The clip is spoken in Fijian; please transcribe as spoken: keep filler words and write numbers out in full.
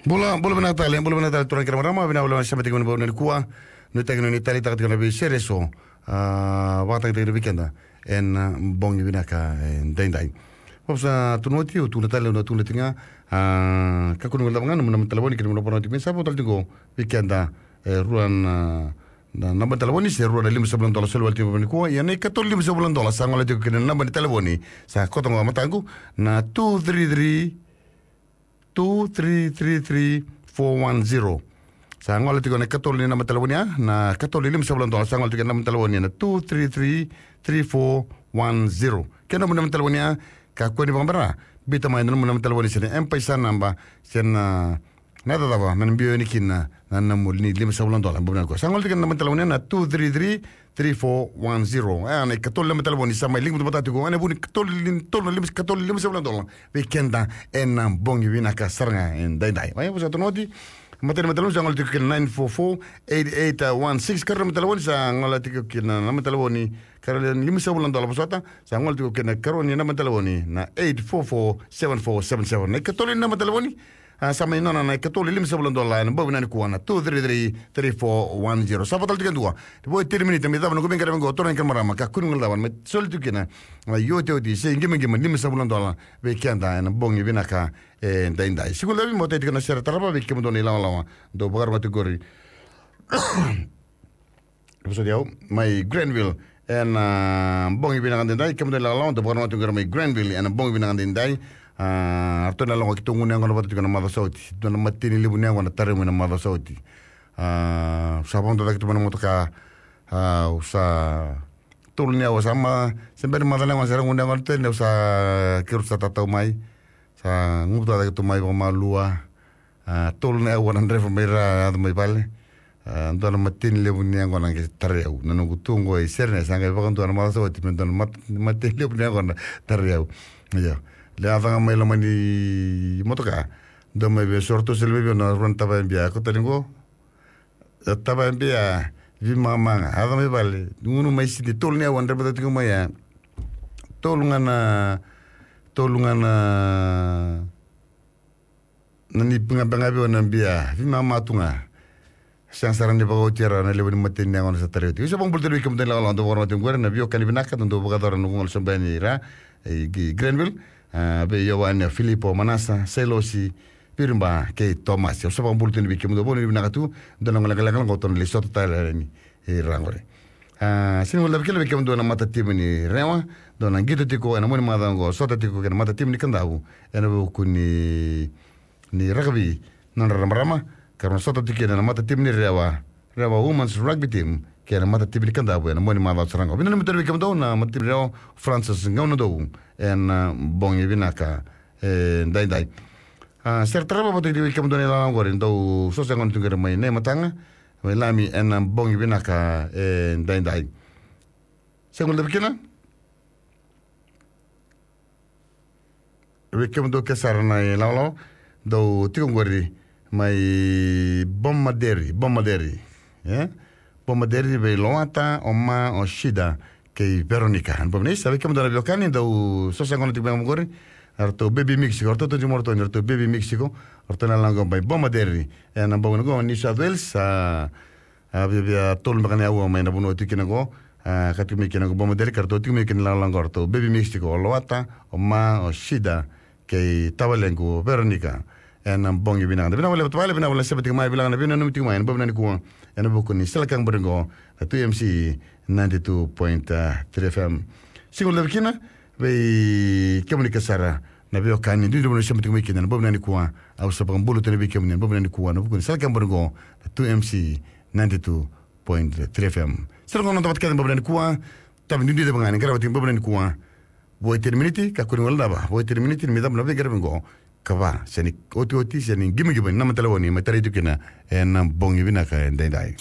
Bula, bula vinaka tale, bula vinaka tale, turaga kei na marama, vinaka vakalevu na sema tiko mai na bogi nikua. Nuitaki ni taleitaka tiko na veisere eso, a, vakatagitaki vei keda ena bogi vinaka edaidai. Vakavusa tu na oti, au tukuna tale, au na tukuna tiko ga, a, kakua ni guilecava ga na nomu naba ni talevoni kei na nomu naba ni talevoni, sa vakatale tiko vei keda, e, rua na, na naba ni talevoni, se rua na limasagavulu na dola, soli vale tiko mai nikua, ia na ikatolu limasagavulu na dola, sa gole tiko kina na naba ni talevoni, sa koto ga mataqu, na two three three, two three three three four one zero. Sa gole tiko na ikatolu ni naba ni talevoni ya, na ikatolu ni limasagavulu na dola, sa gole tiko na naba ni talevoni ya, na two three three three four one zero. Kei na nomu naba ni talevoni ya, kakua ni vakabera, biuta mai na nomu naba ni talevoni se na M-PAiSA naba, se na, na cava, me na biu yani kina na, na nomu ni limasagavulu na dola, bogi nikua. Sa gole tiko na naba ni talevoni ya, na two three three three four one zero. E, na ikatolu na naba ni talevoni sa mai liga vata tiko, ena vu ni ikatolu, tolu na lima, ikatolu limasagavulu na dola vei keda ena bogi vinaka sara ga edaidai. Vakavusa tu na oti, matai ni naba ni talevoni sa gole tiko kina nine four four eight eight one six, karua ni naba ni talevoni sa gole tiko kina na naba ni talevoni, karua ni limasagavulu na dola vosota, sa gole tiko kina karua ni naba ni talevoni na eight four four seven four seven seven. Na ikatolu ni naba ni talevoni, a, sa mai nona na ikatolu limasagavulu na dola ena bogi vinaka nikua, na two three three three four one zero. Sa vakatale tiko e dua. Vo e tini miniti me cava na noqu veiqaravi qo, turaga kei na marama, kakua ni guilecava, me soli tiko kina na iotioti se qimaqima limasagavulu na dola vei keda ena bogi vinaka edaidai. Siga ni Davi, mo tei tiko na sere tarava vei kemudou na ilawalawa dou vakarogotaki qori. Vosoti au mai Granville ena, a, bogi vinaka edaidai, kemudou na ilawalawa dou vakarogotaki tiko qori mai Granville ena bogi vinaka edaidai. A, ratou na lako keitou gunu yaqona vata tiko na macawa sa oti. Dua na mateni levu ni yaqona tarai mai na macawa sa oti. A, sa vakadua cake tu mai na motoka. A, au sa tolu ni aua sa ma, se bera ni maca na yaqona, sa ra gunu yaqona tu yani, au sa, keirau sa tatau mai. Sa gutuva cake tu mai vakamalua. A, tolu na aua na draiva mai ra, yaco mai vale. A, dua na mateni levu ni yaqona qai tarai au. Na noqu tu qo i Sydney, sa qai vakadua na macawa sa oti me dua na mat-, mateni levu ni yaqona tarai au. Io. Le yaco ga mai loma ni motoka, dua mai vei, so ratou soli mai vei au na rua na tavaya bia, ko tani qo. E, tavaya bia, veimama ga, yaco mai vale. Gunu mai Sydney, tolu ni aua draiva tiko mai ya. Tolu ga na, tolu ga na, na ni gabe ga vei au na bia, veimama tu ga. Sega sara ni vakaoti e ra na levu ni mateni yaqona sa tarai oti. Au sa vakabula tale vei kemudou na ilawalawa dou vakarogotaki qori, na veiwekani vinaka dou vakayacora na noqu gauna sobu yani i ra, i Granville. A, vei Ioane, Filipo, Manasa, Sailosi, Viriba kei Tomasi. Au sa vakabula tale vei kemudou, vanuinui vinaka tu. Dua na gauna lekaleka qo tou na lai sota tale yani i ra qori. A, sega ni guilecavi kina vei kemudou na matatimi ni Rewa, dou na qito tiko ena mua ni macawa qo, sota tiko kei na matatimi ni Kadavu ena vuku ni, ni rakavi, nodra marama, ka ra na sota tiko kina na matatimi ni Rewa, Rewa Women's Rugby Team, kei na matatimi ni Kadavu ena mua ni macawa sara qo. Vinaka na matatimi ni Rewa, Francis Gaunadou, ena bogi vinaka edaidai. A, sere tarava vata kei kemudou na ilala qori, dou sosa gona tu qori mai Naimataga, mai Lami ena bogi vinaka edaidai. Sega ni guilecavi kina vei kemudou ke sara na ilala, dou tiko qori mai Bomaderry, Bomaderry. E? Bomaderry vei Loata, o Ma, o Shida, kei Veronica. Ena bogi vinaka, sa vei kemudou na veiwekani, dou sosa gona tiko mai qori. Eratou baby mix tiko, eratou tu tiko mai, eratou baby mix tiko, eratou na lako mai Bomaderry. Ena bogi qo, New South Wales, a, a viavia tolu beka na aua mai na vanua tiko kina qo, a, ka tiko mai kina qo Bomaderry, ka ratou tiko mai kina lako qo, ratou baby mix tiko, o Loata, o Ma, o Shida, kei tavalequ Veronica. Ena bogi vinaka. Vinaka vakalevu tavale, vinaka vakalevu na sema tiko mai, vinaka na veinanumi tiko mai ena bogi vinaka nikua, ena vuku ni Sela Kanga Bori qo, na two M C ninety-two point three F M. Sega ni guilecavi kina vei kemuni ke sara na veiwekani, duidui na vanua ni sema tiko mai kina ena bogi vinaka nikua. Au sa vakabula tu yani vei kemuni ena bogi vinaka nikua, ena vuku ni Sela Kanga Bori qo, na two M C ninety-two point three F M. Sere qo na noda vata kece ena bogi vinaka nikua. Tavi duidui cava ga ni qarava tiko ena bogi vinaka nikua. Vo e tini miniti, kakua ni guilecava. Vo e tini miniti ni mai cava na veiqaravi qo. Ka va, se ni otioti, se ni qimaqiba ni naba ni talevoni me tarai tu kina ena bogi vinaka edaidai.